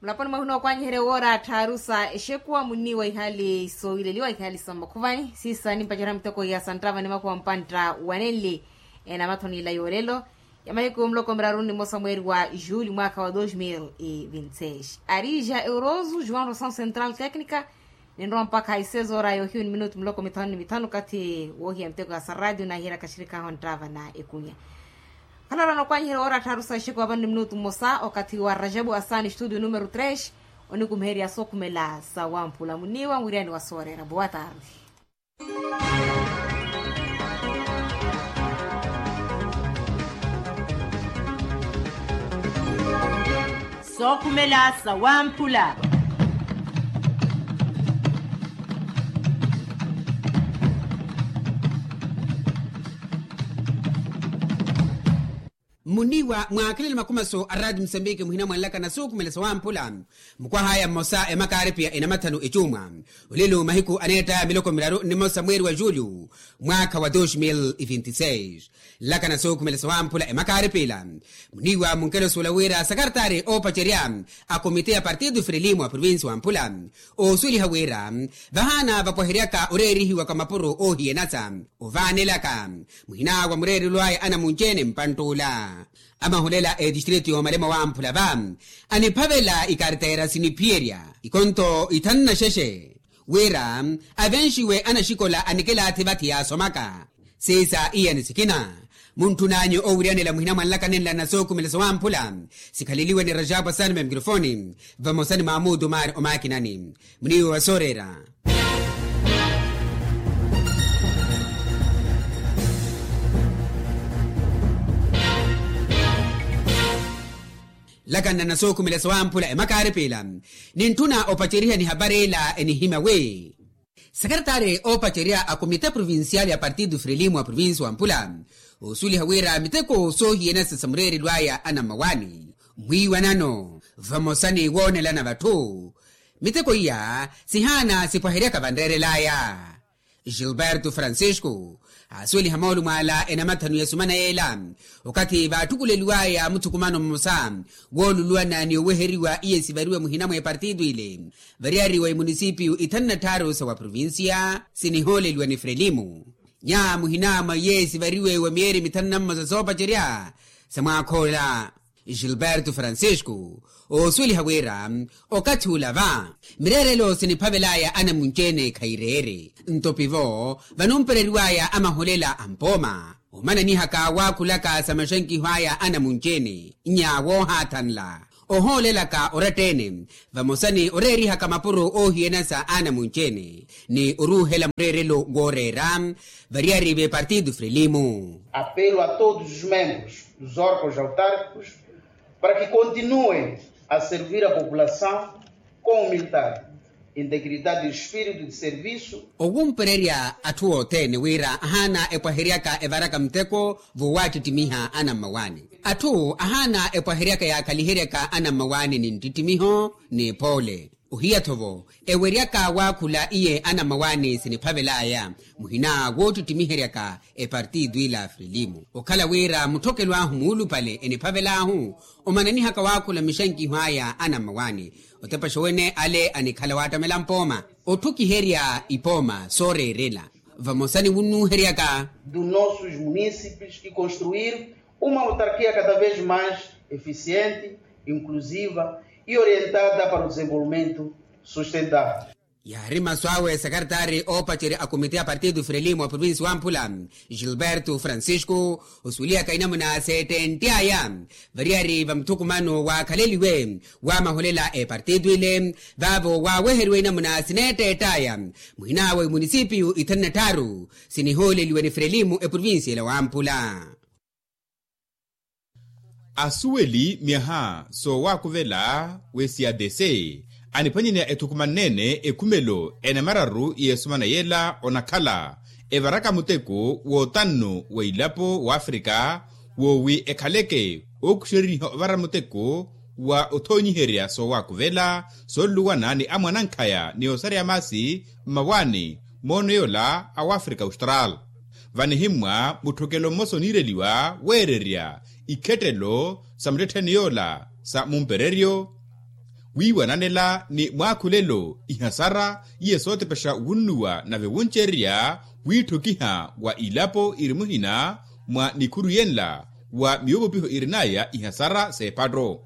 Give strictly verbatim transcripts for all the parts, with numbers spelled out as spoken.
Mulaponi mwahuna okwanyiherya woora tthaaru sa exekuwa munniiwa ihali soowileliwa ihali sa mmakhuvani siisa nimpacerya miteko iya santtava ni makuwa mpantta wanenli. Enamathoni ila yoolelo ya mahiku muloko miraru ni mmosa mweeri wa juuli mwaakha wa dos mil e vinti seis arija euroso juan rosaw central tecnica. Ninrowa mpakha isezoora yoohiyu ni minutu muloko mithanu ni mithanu okathi woohiya miteko ya sa radio naahiyeryaka axirikhahu anttava na ekunya. Khalorana okwanyiherya woora tthaaru sa exekuwa vano ni minutu mmosa okathi wa rajabu asani studio numero tres. Onikumiherya sookhumela sa wamphula muniiwa mwiriyani wa sooreera boa tarde. Sookhumela sa wamphula. Muniiwa mwaakhalele makhumaso a raati musambiki muhina mwanlaka na sookhumela sa wamphula. Mukwahaya mmosa emakaaripiya enamathanu ecuumwa olelo mahiku aneettaya miloko miraru ni mmosa mweeri wa juulu mwaakha wa dos mil e vinti seis. Nlaka na sookhumela sa wamphula emakaaripiya ila muniiwa munkelosuwela wira sakartaari oopacerya a komite ya partido frelimo a provinsi wamphula oosuweliha wira vahaana vapwaheryaka oreerihiwaka mapuro oohiyanasa ovaanelaka muhina wa mureerelo aya anamunci-ene mpantt'ula. Amahulela etistritu yoomalema wamphula va aniphavela ikarteera siniphiyerya ikonto ithanu na xexe wira avenxiwe anaxikola anikilaathi vathi yaasomaka. Siisa iyani sikina muntthun'anyu oowiriyanela muhina mwanlaka nenla na sookhumela sa wamphula. Sikhaleliwe ni rajabu asani memikrofoni vamosa ni maamutu maari omaakinani muniiwa wa sooreera. Nlaka nna na sookhumela sa wamphula emakaaripiya ila nintthuna opaceriha ni hapari ila enihimya wi sakartaari oopacerya a komite provincial ya partido frelimo a provinsi wamphula oosuweliha wira miteko soohiyanasa sa mureerelo aya anammawaani mwiiwanano vamosa ni woonelana vatthu. Miteko iya sihaana sipwaheryaka vanreerel'aya. Gilberto francisco aasuweliha moolumo ala enamathanu ya sumana yeela okathi vaatthukuleliw'aya muthukumano mmosa wooluluwana ni oweheriwa iye sivariwe muhina mwa epartitu ile variyari wa emunisipiyu ithanu na tthaaru sa wa provinsiya sinihooleliwa ni frelimo. Nya muhina mwa iye sivariwe wa miyeeri mithanu na mmosa soopacerya sa mwaakh'ola gilberto francisco oosuweliha wira okathi ula va mireerelo siniphavel'aya anamunci-ene khayireere nto pivo vanumpereriw'aya amaholela a mpooma omananihaka waakhulaka sa maxankiho aya anamunci-ene nya woohaathanla ohoolelaka oratta-ene vamosa ni oreerihaka mapuro oohiyanasa anamunci-ene ni oruuhela mureerelo wooreera variyari v'epartitu frelimo. Apelo a todos os membros dos órgãos autárquicos para que continuem a servir a população com humildade, integridade e espírito de serviço. Owumpererya atthu othene wira ahaana epwaheryaka evaraka muteko voowattittimiha anammawaani atthu ahaana epwaheryaka yaakhaliheryaka anammawaani ni nttittimiho ni epoole ohiya-tho vo eweryaka waakhula iye anammawaani siniphavel'aya muhina woottittimiheryaka epartitu ila frelimo okhala wira mutthokelo ahu muulupale eniphavel'ahu omananihaka waakhula mixankiho aya anammawaani otepaxa wene ale anikhala waattamela mpooma otthukiherya ipooma sooreerela vamosa ni wunnuuheryaka dos nossos munícipes e construir uma autarquia cada vez mais eficiente, inclusiva e orientada para o desenvolvimento sustentável. Yaari masu awe sekeretaari oopacerya a komite ya partido frelimo wa provinsi wamphula gilberto francisco osuwelihaka inamuna seettentt'aya variyari va muthukumano waakhaleliwe waamaholela epartitu ile vaavo waaweheriwa inamuna sineettett'aya muhina wa emunisipiyu ithanu na tthaaru sinihooleliwe ni frelimo eprovinsi ela wamphula. Asuweli myaha soowaakuvela w'esiadese aniphwanyaniha ethukumanne-ene ekhumelo enamararu y'esumana yeela onakhala evaraka muteko w'otannu wa ilapo w'afrika woowi ekhaleke ookuxeriniha ovara muteko wa othoonyiherya soowaakuvela sooluluwana ni amwanankhaya ni osareya maasi mmawaani moono yoola a wafrika austral. Vanihimmwa mutthokelo mmosa oniireliwa weererya ikhettelo sa muttettheni yoola sa mumpereryo Wiiwananela ni mwaakhulelo ihasara iye sootepexa wunnuwa nave wuncererya wiitthukiha wa ilapo iri muhina mwa nikhuru yenla wa miwupupiho irin'aya ihasara s'ephatto.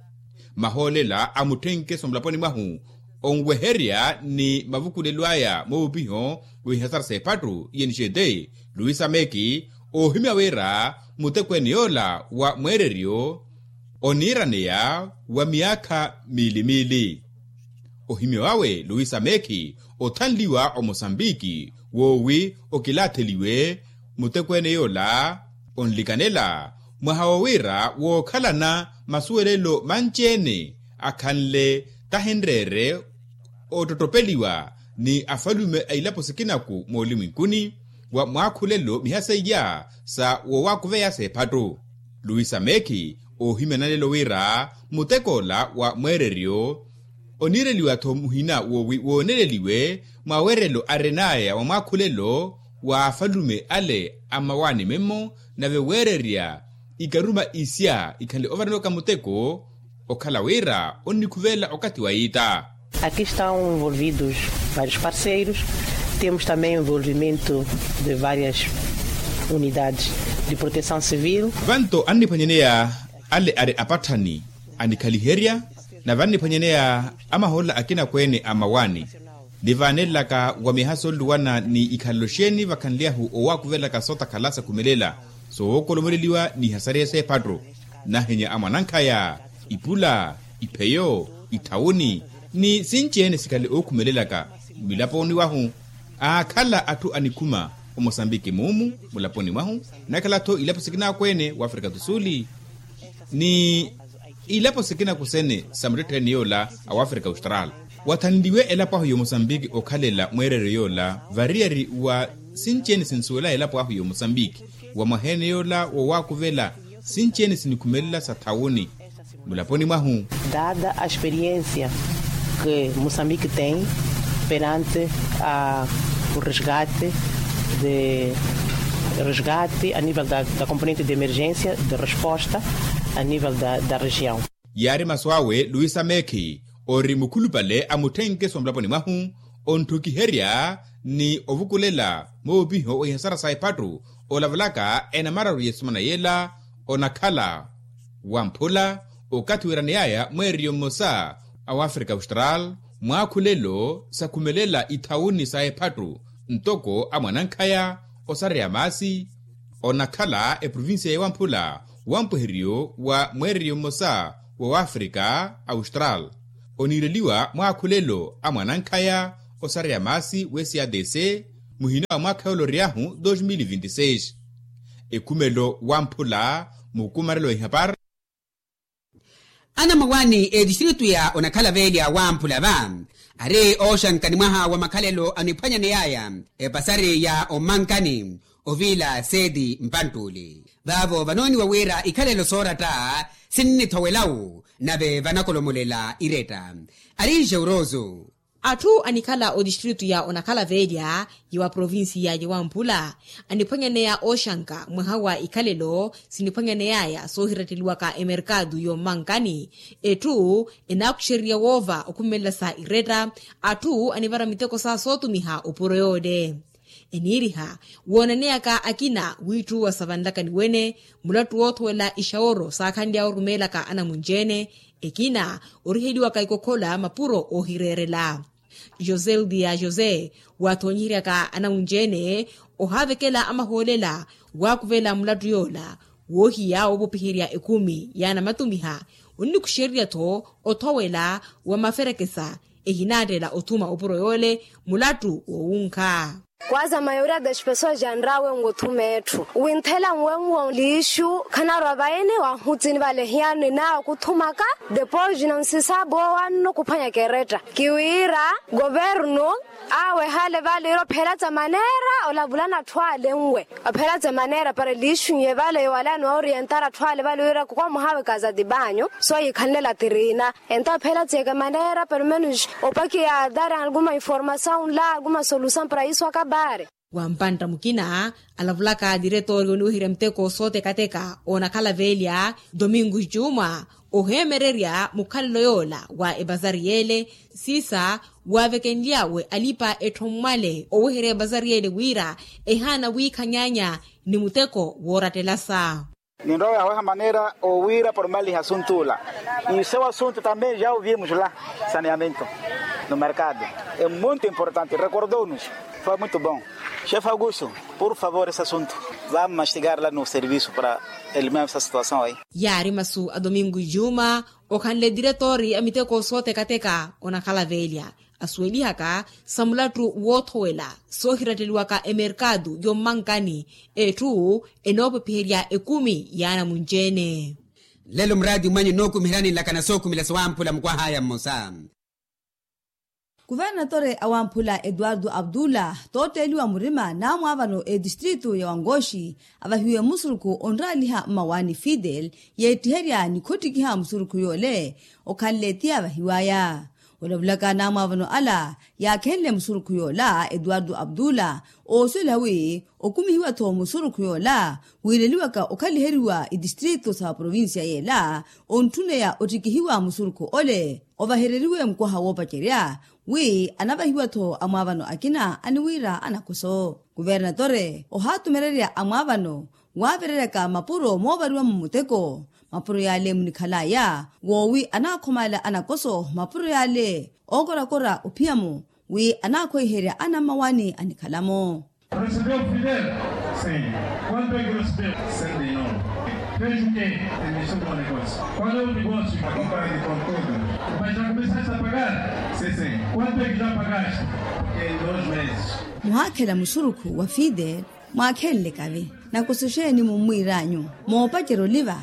Mahoolela a mutthenkeso mulaponi mwahu onweherya ni mavukulelo aya moovupiho w'ihasara s'ephattu iye nixete luisa meki oohimya wira mutekweene yoola wa mweereryo oniiraneya wa miyaakha miili-miili. Ohimya wawe luisa meki othanliwa omosambiki woowi okilaatheliwe mutekweene yoola onlikanela mwaha wo wira wookhalana masuwelelo manci-ene akhanle tahinreere ottottopeliwa ni afalume a ilapo sikinaku moolumwenkuni wa mwaakhulelo miha seiya sa woowakuveya s'ephattu. Luisa meki oohimya nanelo wira mutekoola wa mweereryo oniireliwa-tho muhina woowi wooneleliwe mwawerelo arin'aya wa mwaakhulelo wa afalume ale a mmawaani mimmo nave weererya ikaruma isya ikhanle ovaranowaka muteko okhala wira onnikhuvela okathi wa iita. Aqui estão envolvidos vários parceiros. Temos também envolvimento de várias unidades de proteção civil. Vanto anniphwanyaneya ale ari apatthani anikhaliherya nave anniphwanyaneya amahoolela akinakweene a mmawaani. Nivaanelelaka wa miyaha sooluwana ni ikhalelo xeeni vakhanly'ahu owakuvelaka sootakhala sakhumelela soowokolomoleliwa ni ihasariya s'ephatto. Nahenya a mwanankhaya ipula ipheyo itthawuni ni sinci-ene sikhale ookhumelelaka milaponi wahu. Aakhala atthu anikhuma omosambiki muumu mulaponi mwahu nakhala-tho ilapo sikinakweene w'afrika tu suli ni ilapo sikinaku sene sa muttettheeni yoola a wafrika austral. Wathanliwe elapo ahu y'omosambiki okhalela mweereryo yoola variyari wa sinci-ene sinsuwela elapo ahu y'omosambiki wa mwaha-ene yoola wowaakuvela sinci-ene sinikhumelela sa thawuni mulaponi mwahu. Dada a experiência que moçambique tem perante a o resgate de resgate a nível da componente de emergência de resposta a nível da região. Yaari masu awe luisa mekhi ori mukhulupale a mutthenkeso mulaponi mwahu ontthukiherya ni ovukulela moopiho wa ihasara sa ephattu olavalaka enamararu y'esimana yela onakhala wamphula okathi wiiraneyaya mweeriyo mmosa a wafrika austral mwaakhulelo sakhumelela ithawuni sa ephattu ntoko a mwanankhaya osareya maasi onakhala eprovincia ya wamphula wampweheriyo wa mweeriyo mmosa wa wafrika austral oniireliwa mwaakhulelo a mwanankhaya osareya maasi w'esadc muhina wa mwaakha yooloryahu dos mil vinti seis. Ekhumelo wamphula mukumarelo wa ihapar. Anamawani etistritu ya onakhala velya wamphula va ari ooxanka ni mwaha wa makhalelo aniphwanyaneyaya epasari ya omankani ovila seti mpanttuli vavo vanooniwa wira ikhalelo sooratta sinnithowelawu nave vanakolomolela iretta. Ari jeuroso. Atthu anikhala otistritu ya onakhala velya ya wa provincia ya wamphula aniphwanyaneya ooxanka mwaha wa ikhalelo siniphwanyaneyaya soohiratteliwaka emerkatu y'ommankani. Etthu enaakuxererya woova okhumelela sa iretta atthu anivara miteko sa sootumiha opuro yoole. Eniiriha woonaneyaka akina wiitthuwa sa vanlakani wene mulattu woothowela ixaworo saakhanly'awe orumeelaka anamunci-ene ekina oriheliwaka ikokhola mapuro oohireerela. José ludia josé wathoonyiheryaka anamunci-ene ohaavekela amahoolela waakuvela mulattu yoola woohiya woopopiherya ekhumi yaanamatumiha. Onnikuxererya-tho othowela wa maferekesa ehinaattela othuma opuro yoole mulattu woowunkha. Kwaza mayoria das pessoas janrawe nwothuma etthu winthela nwenwo liixu khanarwa vaene wahutsini vale hiyano enaawe kuthumaka depois na nsisabo wanno kuphwanyaka eretta kiwira governo awe hale vale ira ophelatsa manera olavulana atthu ale nwe ophelatsa manera para liixu nye vale yowalani waorientara atthu ale vale ira kukomuhawe kazati banyu so yikhanlela tirina. Entawo phela tsiyeke manera perumenus opakiya dar alguma informasaun la alguma solusaun para isu akabare. Wa mpantta mukina alavulaka diretori oniweherya miteko sootekateka onakhala velya domingo juma oheemererya mukhalelo yoola wa ebazari yeele siisa wavekenlyawe alipa etthommwale oweherya ebazari yeele wira ehaana wiikhanyanya ni muteko woorattelasa. Ninrowa yaweha manera owira pormaliha asuntu ula. Iso wa asuntu tambe ja ovimuxula saneamento no merkado e muntu importante rekordou-nos. Foi muito bom. Xefe augusto, por favor esse asuntu vamos mastigar la no serviço para eliminar essa situação aí. Yaari masu a domingo juma okhanle diretori a miteko sootekateka onakhala velya asuwelihaka sa mulattu woothowela soohiratteliwaka emerkatu yommankani etthu enoopwepiherya ekumi y'anamunci-ene. Lelo muraati mwanyu nookumiherani nlakana sookhumela sawamphula mukwah'aya mmosa. Kuvernatore awamphula eduardo abdullah tootteeliwa murima n'amwaavano etistritu ya wangoxi avahiwe musurukhu onraaliha mmawaani fidel yeettiherya ni khottikiha musurukhu yoole okhanle ti avahiw'aya. Olavulaka n'amwaavano ala yaakhenle musurukhu yoola eduardo abdullah oosuweliha wi okumihiwa-tho musurukhu yoola wiileliwaka okhaliheriwa itistritu sa provincia yeela ontthuneya ottikihiwa musurukhu ole ovahereriwe mukwaha woopacerya wi anavahiwa-tho amwaavano akina aniwiira anakoso. Kuvernatore ohaatumererya amwaavano waavereryaka mapuro moovariwa-mo muteko mapuro yaale munikhal'aya woowi anaakhomaala anakoso mapuro yaale ookorakora ophiya-mo wi anaakhoiherya anammawaani anikhala-mo. Recebeu fidel? Sim. Quanto é que recebeu? Cento e nove. Fez o quê? Iniciou um negócio. Qual é o negócio? A compra de conteúdo. Mas já começaste a pagar? Sim, sim. Quanto é que já pagaste? Em dois meses. Muhaakhela musurukhu wa fidel mwaakhenle kavi nakusuxeeni mummwiir'anyu moopacerya oliva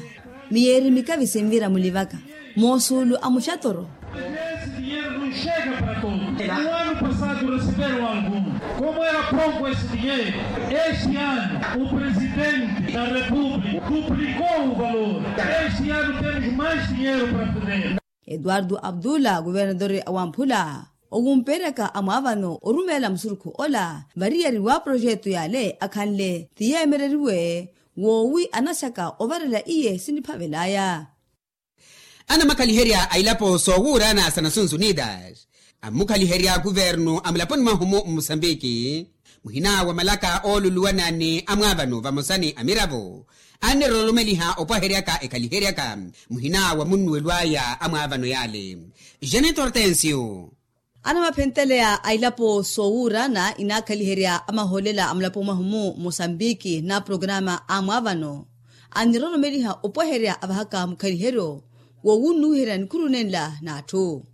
miyeeri mikavi sinvira mulivaka moosuulu a muxatoro. Esse dinheiro não chega para todos. No ano passado receberam algum. Como era pouco esse dinheiro, este ano o presidente da república duplicou o valor. Este ano temos mais dinheiro para fazer. Eduardo abdullah kuvernadori awamphula owumpeeryaka amwaavano orumeela musurukhu ola variyari wa projeto yaale akhanle ti yeemereriwe woowi anaxaka ovarela iye siniphavel'aya. Anamakhaliherya a ilapo soowuurana sa nasunsu unidas ammukhaliherya kuvernu a mulaponi mwahu-mu mmusambiki muhina wa malaka ooluluwana ni amwaavano vamosa ni amiravo anniroromeliha opwaheryaka ekhaliheryaka muhina wa munnuwelo aya amwaavano yaale. Janet hortensio. Anamaphenteleya a ilapo soowuurana inaakhaliherya amahoolela a mulapo mwahu-mu mosambiki na programa a mwaavano anniroromeliha opwaherya avahaka mukhaliheryo woowunnuwiherya nikhuru nenla n'atthu.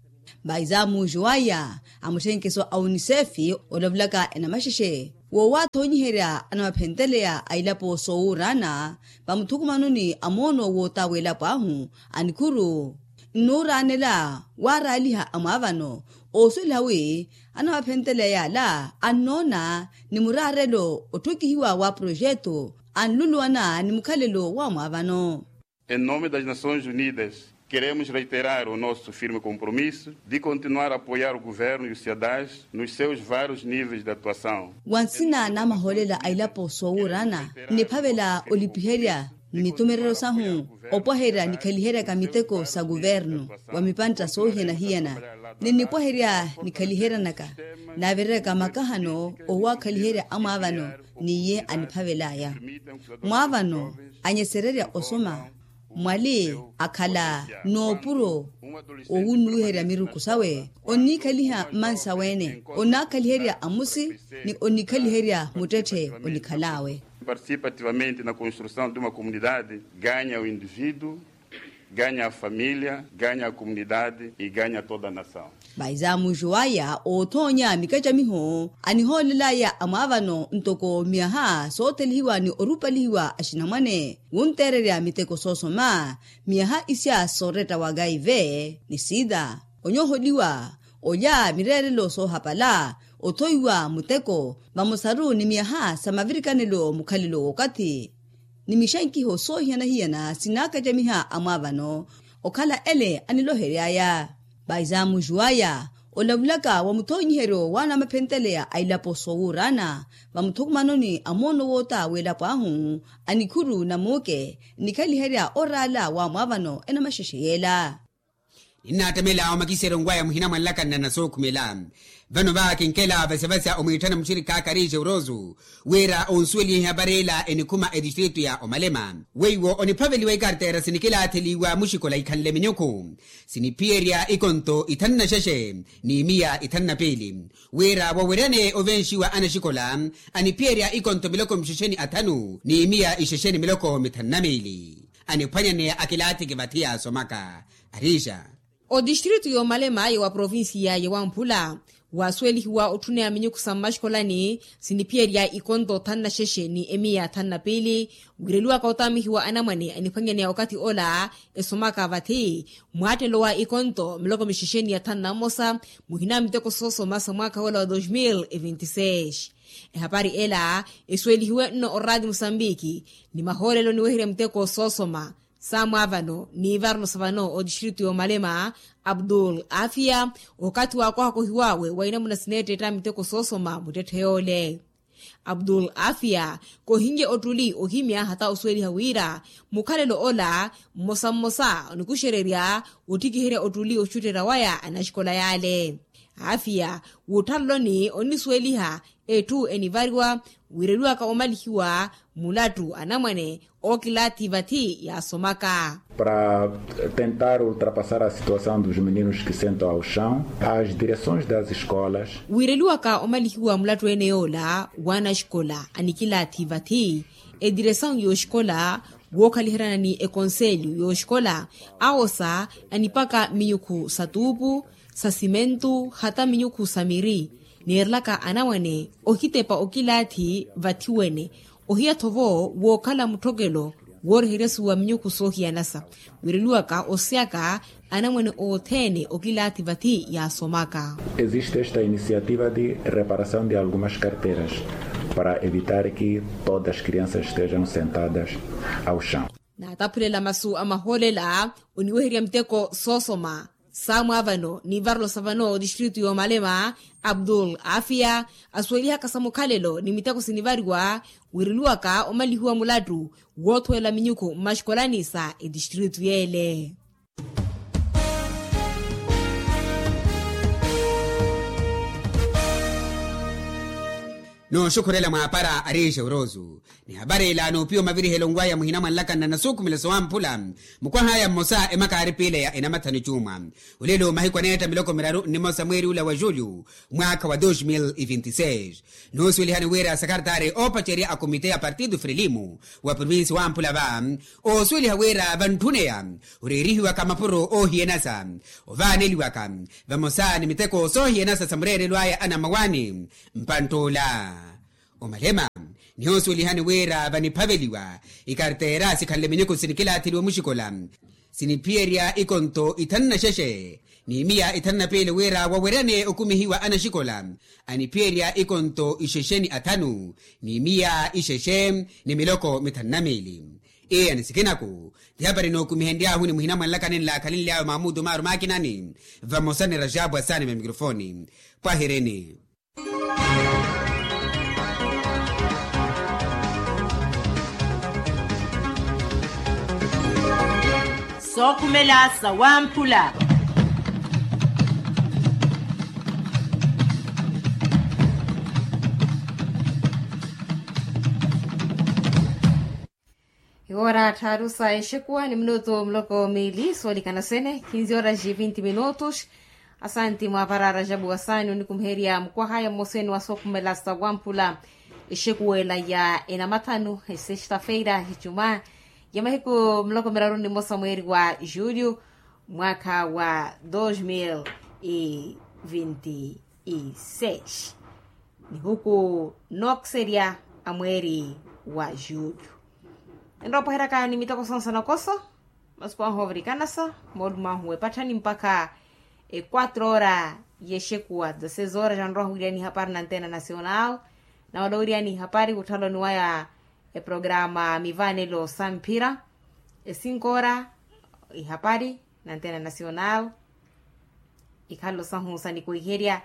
Mbaizaamuuxu waya a mutthenkeso a unisefi olavulaka enamaxexe woowathoonyiherya anamaphenteleya a ilapo soowuurana vamuthukumanoni a moono wootaawa elapo ahu a nikhuru nnuuraanela waaraaliha amwaavano oosuweliha wi anamaphenteleya yaala annoona ni muraarelo otthokihiwa wa projeto anluluwana ni mukhalelo wa mwaavano. Em nome das nações unidas queremos reiterar o nosso firme compromisso de continuar a apoiar o governo e o ciadas nos seus vários níveis de atuação. Wa nsina n'amahoolela a ilapo soowuurana nniphavela olipiherya mmitumereryo sahu opwaherya nikhaliheryaka miteko sa kuvernu wa mipantta soohiyana-hiyana ninnipwaherya nikhaliheryanaka naavereryaka makahano owaakhaliherya amwaavano n'iye aniphavel'aya mwaavano anyesererya osoma mwali akhala n'opuro owunnuwiherya miruku sawe onnikhaliha mmansa wene onnakhaliherya amusi ni onnikhaliherya muttetthe onikhal'awe. Participa ativamente na construção de uma comunidade ganha o indivíduo ganha a família ganha a comunidade e ganha toda a nação. Vaizamuxu waya oothoonya mikacamiho anihoolel'aya amwaavano ntoko miyaha soothelihiwa ni orupalihiwa axinamwane wunteererya miteko soosoma miyaha isya sooretta wa gaive ni sida onyoholiwa olya mireerelo soohapala othoiwa muteko vamosaru ni miyaha sa mavirikanelo mukhalelo w'okathi ni mixankiho soohiyana-hiyana sinaakacamiha amwaavano okhala ele anilohery'aya. Vaizamuxu waya Olavulaka wa muthoonyiheryo waana maphenteleya a ilapo soowuuraana vamuthukumanoni a moono woota w'elapo ahu, anikhuru na muuke nnikhaliherya oraala wa mwaavano enamaxexe yeela. Ninnaattamela omakiseryo nkwaya muhina mwanlakani na nasookhumela. Vano va kinkela vasavasa omwiitthana muxirikha a karije urosu wira onsuweliha eparela enikhuma etistritu ya omalema weiwo oniphaveliwa ikartera sinikilaatheliwa muxikola ikhanle minyukhu siniphiyerya ikonto ithanu na xexe ni miya ithanu na piili wira waweryane ovenxiwa anaxikola aniphiyerya ikonto miloko mixexeni athanu ni miya ixexeni miloko mithanu na miili aniphwanyaneya akilaathiki vathi yaasomaka. Arixa otistritu y'omalema ya wa provincia ya wamphula waasuwelihiwa otthuneya minyukhu sa mmaxikolani siniphiyerya ikonto thanu na xexe ni emiya thanu na piili wireliwaka otaamihiwa anamwane aniphwanyaneya okathi ola esomaka vathi mwaattelo wa ikonto miloko mixexeni ya thanu na mmosa muhina miteko soosoma sa mwaakha wola wa dos mil e vinti seis. Ehapari ela esuwelihiwe nno oraati musambiki ni mahoolelo niweherya miteko soosoma saamwaavano n'ivarno sa vano otistritu y'omalema abdul afia okathi waakohakohiwawe wa inamuna sineettetta miteko soosoma muttetthe yoole. Abdul afia kohinye ottuli ohimya hata osuweliha wira mukhalelo ola mmosa mmosa onikuxererya ottikiherya ottuli oxutterya waya anaxikola yaale. Afia wutthaloloni onnisuweliha etthu enivariwa wireliwaka omalihiwa mulattu anamwane ookilaathi vathi yaasomaka. Para tentar ultrapassar a situação dos meninos que sentam ao chão, as direções das escolas. Wireliwaka omalihiwa mulattu ene yoola w'anaxikola anikilaathi vathi ediresawu y'oxikola wookhaliheryana ni ekonselyu y'oxikola awosa anipaka minyukhu sa tuupu sa simentu hata minyukhu sa miri neerelaka anamwane ohitepa okilaathi vathi wene ohiya-tho vo wookhala mutthokelo wooryeheryasuwa minyukhu soohiyanasa wireliwaka osiyaka anamwane othene okilaathi vathi yaasomaka. Existe esta iniciativa de reparação de algumas carteiras para evitar que todas as crianças estejam sentadas ao chão. Naataphulela masu a mahoolela oniweherya miteko soosoma saamwaavano n'ivarelo sa vano otistritu y'omalema abdul afia asuwelihaka sa mukhalelo ni miteko sinivariwa wireliwaka omalihiwa mulattu woothuwela minyukhu mmaxikolani sa etistritu yeele. Nooxukhurela mwaapara ariixe urosu ni hapari ila noopiwa mavirihelo nkwaya muhina mwanlakana na nasuukhumela sowamphula mukwahaya mmosa emaka aaripiileya enamathanu cuuma. Olelo mahiku aneetta miloko miraru nnimosa mweeri ula wa julyu mwaakha wa dos mil e vinti seis. Noosuwelihani wira sakartari oopacerya a komite ya partido frelimo wa provinsi wamphula va oosuweliha wira vantthuneya oreerihiwaka mapuro oohiyanasa ovaaneliwaka vamosa ni miteko soohiyanasa sa mureerelo aya anamawani mpantt'ula. Omalema nihoosuwelihani wira vaniphaveliwa ikarteera sikhanle minyuku sinikilaatheliwa muxikola siniphiyerya ikonto ithanu na xexe ni miya ithanu na piili wira waweryane okumihiwa anaxikola aniphiyerya ikonto ixexe ni athanu ni miya ixexe ni miloko mithanu na miili. Iya ni sikinaku ti hapari nookumihenry'ahu ni muhina mwanlakani nlaakhalinly'awe mamutu maaru maakinani vamosa ni raxapu asaani va mikrofoni. Pwahirini. Sookhumela sawamphula. Iwoora tthaaru sa exekuwa ni minutu muloko miili soolikana sene kinzi horas e vinti minutos. Asanti mwaapara rajabu wasaani onikumiherya mukwahaya mmoseni wa sookhumela sa wamphula exekuwela ya enamathanu esexta-feira ecuma ya mahiku muloko miraru ni mmosa mweeri wa julyu mwaakha wa dos mil e vinti e seis. Nihuku nookiserya a mweeri wa julyu enroopweheryaka ni miteko sonse nokoso masuku ahu oovirikanasa moolumo ahu wepatthani mpakha e quatro hora y'exekuwa dezesseis hora janroha owiriyani ihapari na antena nacional. Nawala owiriyani ihapari wutthaloni waya eprograma mivaanelo sa mphira e cinco hora ihapari na antena nacional. Ikhalo sahu sanikwiherya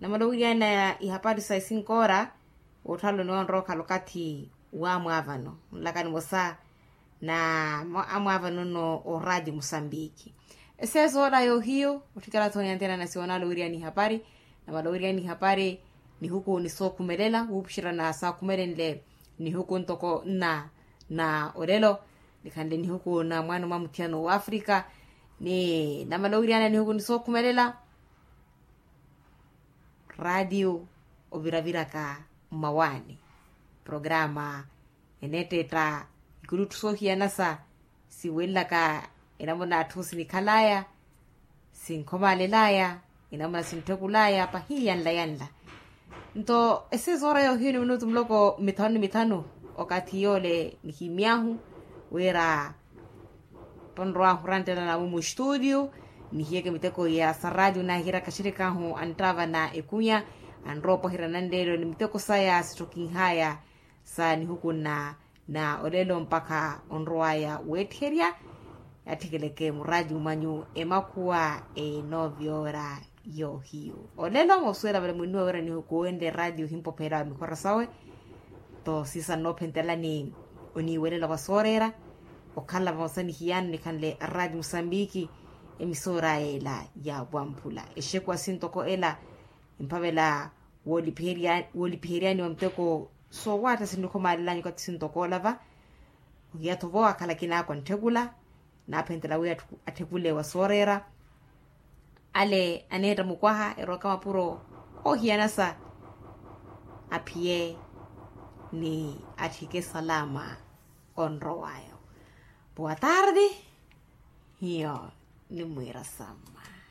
namala owiriyana ihapari sa esinkoora. Wootthaloni wonrowa okhala okathi wamwaavano nlaka nimosa na amwaavano nno oraati musambiki. Eseesoora yoohiyu otthikela-tho onyanthena nasi wonala owiriyana ihapari. Namala owiriyana ihapari nihuku nisookhumelela wuupuxerya na saakhumelenle nihuku ntoko nna na olelo nikhanle nihuku na mwaano mwa muthiyano w'afrika. Ni namala owiriyana nihuku nisookhumelela raatiyo oviraviraka mmawaani programa eneetteetta ikulutthu soohiyanasa siwelelaka enamuna atthu sinikhal'aya sinkhomalel'aya enamuna sintthukul'aya pahiyanla yanla. Nto eseesoora yoohiyu ni minutu muloko mithanu ni mithanu okathi yoole nihimy'ahu wira tonrowahu oranttelana mumu estuutiyu nihiyeke miteko ya saraatiyo naahiraka axirik'ahu anttaavana ekunya anrowa opwaherya nanleelo ni miteko saya sitthokinh'aya sa nihuku nna na olelo mpakha onrow'aya weettiherya. Yaatthekeleke muraatiyo mwanyu emakhuwa enoovyora yoohiyu olelo moosuwela vale mwinnuwa wira nihuku wenle eraatiyo ohimpopheela wa mikhora sawe. Nto siisa nnoophentelani oniiwelela wa sooreera okhala vamosa ni hiyano nikhanle araati musambiki emisoor'aya ela ya wamphula exekuwa sintoko ela emphavela woolipiheryani wa muteko soowaatta sinnikhomalel'anyu okathi sintoko ola va ohiya-tho vo akhala akinaakwa ntthekula naaphentela wi atthekule wa sooreera ale aneetta mukwaha erowaka mapuro oohiyanasa aphiye ni atthike salama onrow'ayo. Puwa tardi hiyo nimwiira samma.